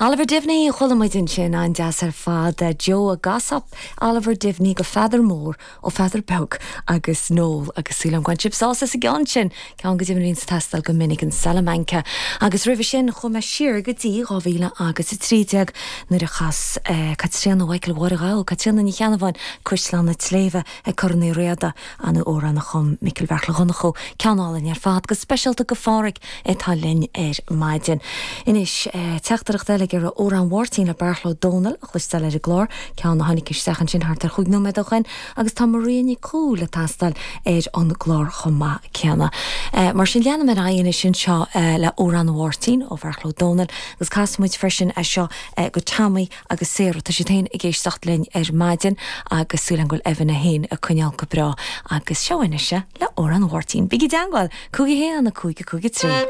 Oliver Diviney a chuala muid ansin, an-deas ar fad. Joe a gCasadh Oliver Diviney go Pheadar Mór ó Pheadar Beag agus Noel agus súil agam go bhain sibh sásamh as an gceann sin, ceann go deimhin a bhíonn ag teastáil go minic, an Salamanca. Agus roimhe sin chuaigh mé siar go dtí 2013 nuair a chas Caitríona Mhichael Mháire Ghabha, Caitríona Ní Cheannabháin, Cuisleán na Sléibhe ag Corn Uí Riada, an amhrán a chum Micil Bheartla Dhonnchú, ceann álainn ar fad, go speisialta go Pháraic atá linn ar maidin. Anois, teachtaireacht eile ag iarraidh Amhrán Mháirtín le Beartla Ó Domhnaill a chloisteáil ar an gclár, ceann a tháinig isteach ansin thart ar chúig nóiméad ó shoin, agus tá Maria Nic Cumhaill ag teastáil ar an gclár chomh maith céanna. Mar sin, leanfaidh mé ar aghaidh anois anseo le Amhrán Mháirtín ó Bheartla Ó Domhnaill, agus casfaidh muid freisin é seo go Tommy agus Sarah. Tá siad féin ag éisteacht linn ar maidin agus súil agam go bhfuil Evan é féin ag coinneáil go breá. Agus seo anois é le Amhrán Mháirtín. Bígí i dteangmháil! 5 1 5 5 3.